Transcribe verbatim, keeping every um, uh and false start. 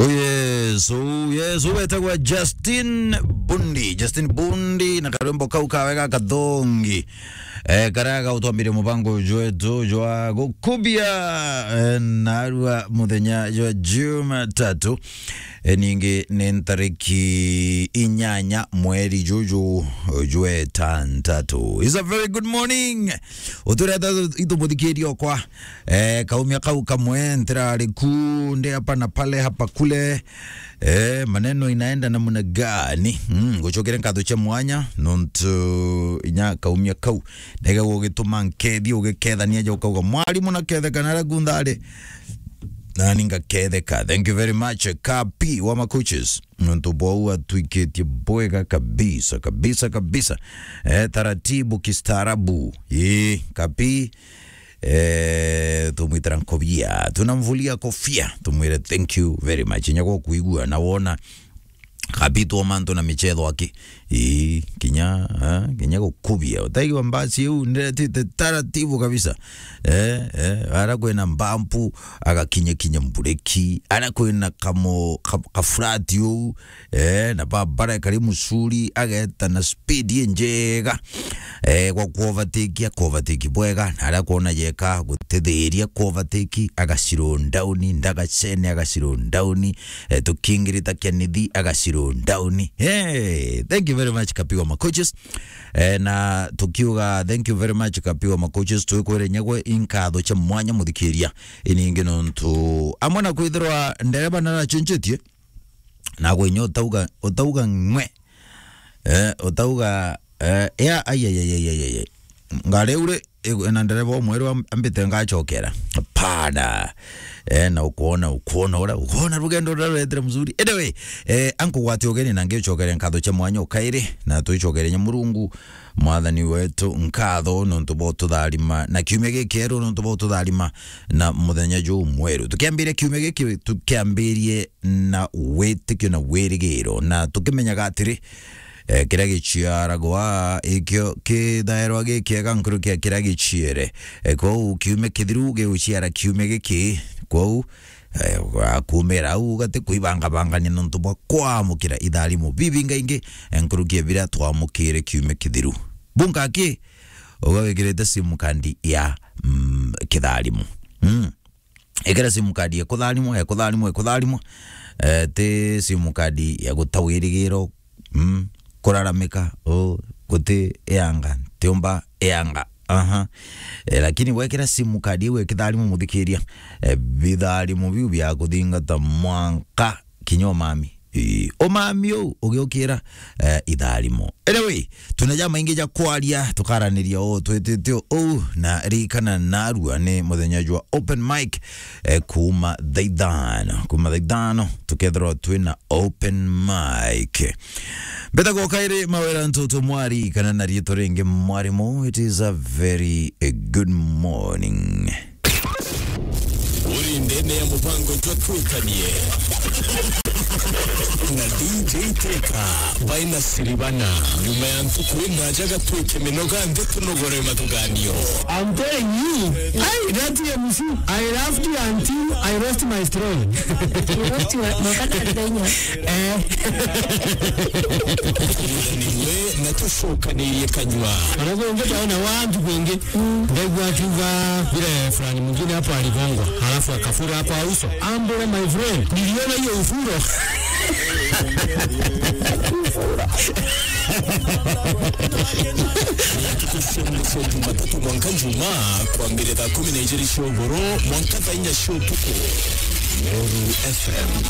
Oh yes, oh yes, wetagwa Justin Bundi. Justin Bundi na karwimbo kau kawe ga kathongi. Eh, karia gautwambirie mubango jwetu jwa gukubia, eh, narua muthenya jwa Jumatatu. Eh, ningi ni ntariki inyanya mweri juju jwetantatu. It's a very good morning. Utureta itu muthikiria okwa. Eh, kaumia kau kamwe ntirari ku, ndi hapa na pale, hapa kule. Eh, maneno inaenda namna gani? Mm, ngucokere nkatho cia mwanya, nontu inya kaumia kau. Ndege gugituma nkethia, ugikethania ja ukauga, "Mwarimu, naketheka naria kuntha ari." Nani ngaketheka. Thank you very much, Kapi wa Makuches. Nontu bwau atwikitie bwega kabisa, kabisa, kabisa. Eh, taratibu kistaarabu. Ii, Kapi, eh, tumwitira nkobia. Tunamvulia kofia. Tumwire thank you very much. Inya gwa kuigua na wona Kapi twa mantu na michetho aki. Ii, kinya, eh, kinya gukubia. Utaigua mbasi iu ndiretite taratibu kabisa. Eh, eh, ara kwina mbampu, agakinya kinya mbureki. Ara kwina kamo, ka, ka flat uu, eh, na babara kari musuri, ageta na speed injega. Eh, gwa kuovatiki, akovatiki bwega, na aria kwona yeka gutithiria kuovatiki, aga slow down, ndagacene, aga slow down, eh, tukingirita kia nithi, aga slow down. Hey, thank you very much, Kapi wa Makuches. Eh, na tukiuga thank you very much, Kapi wa Makuches, twikwire nyagwe inkatho cia mwanya muthikiria. Iningi nontu amwe na kwithirwa ndereba narachenjetie, na gwe inya utauga, utauga ng'we. Eh, utauga, eh, ya, ai, ai, ai, ai, ai, ai. Ngari uri, igu-, na ndereba umweru am-, ambite ngacokera. Hapana. Eh, na ukwona, ukwona ura, ukwona rugendo ruria ruretire mzuri. Anyway, eh, ankugwatia ugeni na ngicokere nkatho cia mwanya ukairi, na twicokere nya Murungu, Mwathani wetu, nkatho nontu bwa ututharima, na kiumia gikieru nontu bwa ututharima, na muthenya juu mweru. Tukiambiria kiumia giki, tukiambirie na witikio na wirigiro, na tukimenyaga atiri, eh, kiria giciaragwa ikio kithairwa gikiega nkuruki ya kiria giciere. Eh, kwou kiumia kithiru giguciara kiumia giki, kwou, eh, akumira au gati kwibangabangania nontu bwa kwamukira itharimo bibingaingi, eh, nkuruki ya biria twamukire kiumia kithiru. Bunga ki, uga wikirite sim card ya, mm, kitharimo. Mm. Ikira sim card ya kutharimwa, ya kutharimwa, ya kutharimwa. Eh, ti sim card ya guta wirigiro, mm, kuraramika, oh, guti eanga, tiumba eanga. Aha. Eh, lakini wekira sim card iu ya kitharimo muthikiria, eh, bitharimo biu bia kuthingata mwanka kinya umami. Ii, umami uu ugiukira, eh, itharimo. Anyway, twina ja maingi ja kwaria, tukaraniria uu twitite uu, na ririkana narua ni muthenya jwa open mic, eh, kuuma thaa ithano. Kuuma thaa ithano, tukethirwa twina open mic. Mbetagwo Kairi Mawira Ntutu Mwari, kana na riitwa ringi Mwarimu. It is a very, eh, good morning. Uri ndene ya mubango jwa Twikanie na D J Teka by Nasiribana. Nyuma ya ntuku indaja gatwike minoga nthi tunogore mathuganio. I'm telling you, hey, that M C, I laughed until I lost my throne. You lost your, no, kana ndenya. Eh. Tuthaniwe na tucokanirie kanyua. Anakuongea taona watu wengi. Ndaigua akiuga vile fulani mwingine hapo aligongwa, halafu akafura hapo uso. Ambule, my friend, niliona hiyo ufuro. Ntuku cia mwico Jumatatu mwanka Jumaa, kwambire thaa kumi na ijiri cia ugoro mwanka thaa inya cia utuku. Meru F M.